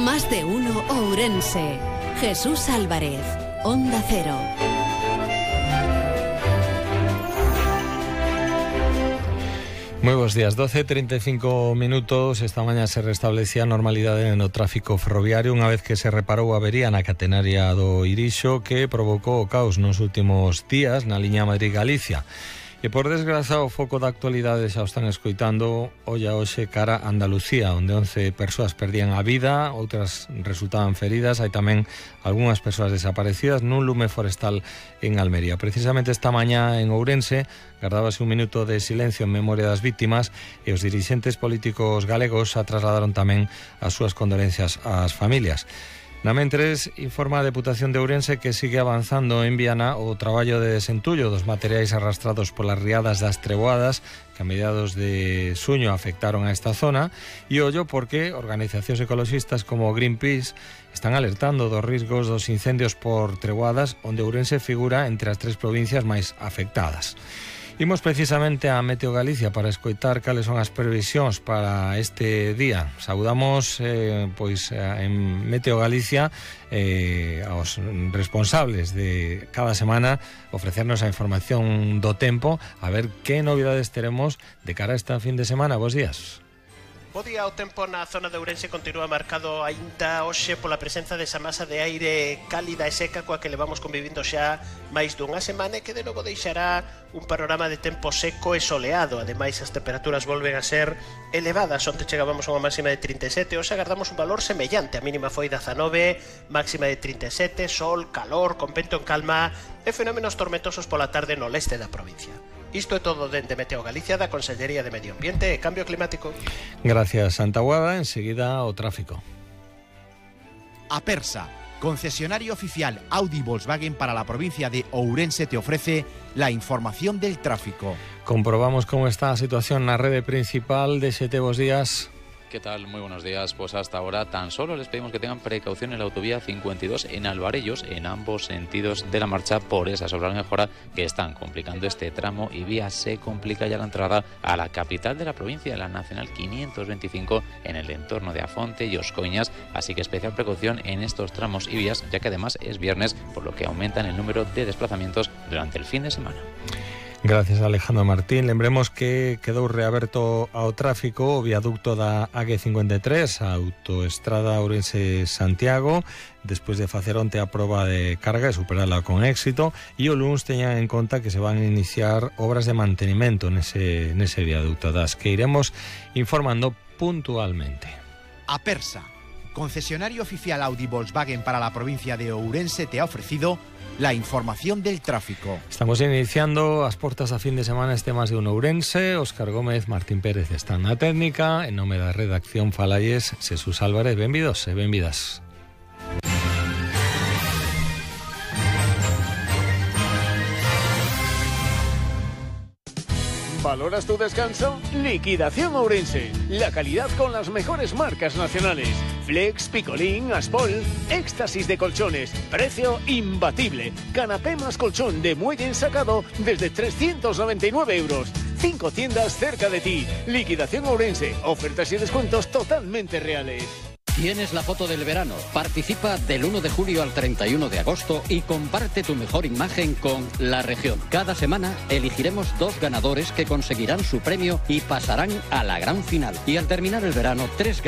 Más de uno Ourense. Jesús Álvarez, Onda Cero. Muy buenos días, 12:35 minutos. Esta mañá se restablecía a normalidade no tráfico ferroviario unha vez que se reparou a avería na catenaria do Irixo que provocou o caos nos últimos días na liña Madrid-Galicia. E por desgraza o foco da actualidade xa o están escoitando olla hoxe cara a Andalucía, onde 11 persoas perdían a vida, outras resultaban feridas, hai tamén algunhas persoas desaparecidas nun lume forestal en Almería. Precisamente esta mañá en Ourense gardábase un minuto de silencio en memoria das vítimas e os dirixentes políticos galegos xa trasladaron tamén as súas condolencias ás familias. Na mentres, informa a Deputación de Ourense que sigue avanzando en Viana o traballo de desentullo dos materiais arrastrados polas riadas das treboadas que a mediados de xuño afectaron a esta zona e ollo porque organizacións ecoloxistas como Greenpeace están alertando dos riscos dos incendios por treboadas onde Ourense figura entre as 3 provincias máis afectadas. Imos precisamente a Meteo Galicia para escoitar cales son as previsións para este día. Saudamos en Meteo Galicia aos responsables de cada semana ofrecernos a información do tempo, a ver que novidades teremos de cara a esta fin de semana. Bos días. Bo día, o tempo na zona de Ourense continúa marcado aínda hoxe pola presenza desa masa de aire cálida e seca coa que levamos convivindo xa máis dunha semana e que de novo deixará un panorama de tempo seco e soleado. Ademais, as temperaturas volven a ser elevadas. Onte chegábamos a unha máxima de 37, hoxe agardamos un valor semellante. A mínima foi 19, máxima de 37, sol, calor, con vento en calma e fenómenos tormentosos pola tarde no leste da provincia. Isto é todo dende Meteo Galicia da Consellería de Medio Ambiente e Cambio Climático. Gracias, Santaguada. Enseguida o tráfico. Apersa, concesionario oficial Audi Volkswagen para la provincia de Ourense, te ofrece la información del tráfico. Comprobamos cómo está la situación en la red principal de 7 días. ¿Qué tal? Muy buenos días. Pues hasta ahora tan solo les pedimos que tengan precaución en la autovía 52 en Alvarellos, en ambos sentidos de la marcha por esas obras de mejora que están complicando este tramo y vía. Se complica ya la entrada a la capital de la provincia, la Nacional 525, en el entorno de Afonte y Oscoiñas, así que especial precaución en estos tramos y vías, ya que además es viernes, por lo que aumentan el número de desplazamientos durante el fin de semana. Gracias, Alejandro Martín. Lembremos que quedou reaberto ao tráfico o viaducto da AG53, a autoestrada Ourense-Santiago, despois de facer onte a proba de carga e superala con éxito, e o luns teñan en conta que se van a iniciar obras de mantenimento nese viaducto, das que iremos informando puntualmente. Apersa, concesionario oficial Audi Volkswagen para la provincia de Ourense, te ha ofrecido la información del tráfico. Estamos iniciando as portas a fin de semana este Más de Uno Ourense. Óscar Gómez, Martín Pérez están na técnica. En nome da redacción falalles Jesús Álvarez. Benvidos e benvidas. ¿Valoras tu descanso? Liquidación Ourense. La calidad con las mejores marcas nacionales. Flex, Picolín, Aspol, éxtasis de colchones. Precio imbatible. Canapé más colchón de muelle ensacado desde 399 euros. 5 tiendas cerca de ti. Liquidación Ourense. Ofertas y descuentos totalmente reales. Tienes la foto del verano. Participa del 1 de julio al 31 de agosto y comparte tu mejor imagen con La Región. Cada semana elegiremos 2 ganadores que conseguirán su premio y pasarán a la gran final. Y al terminar el verano, 3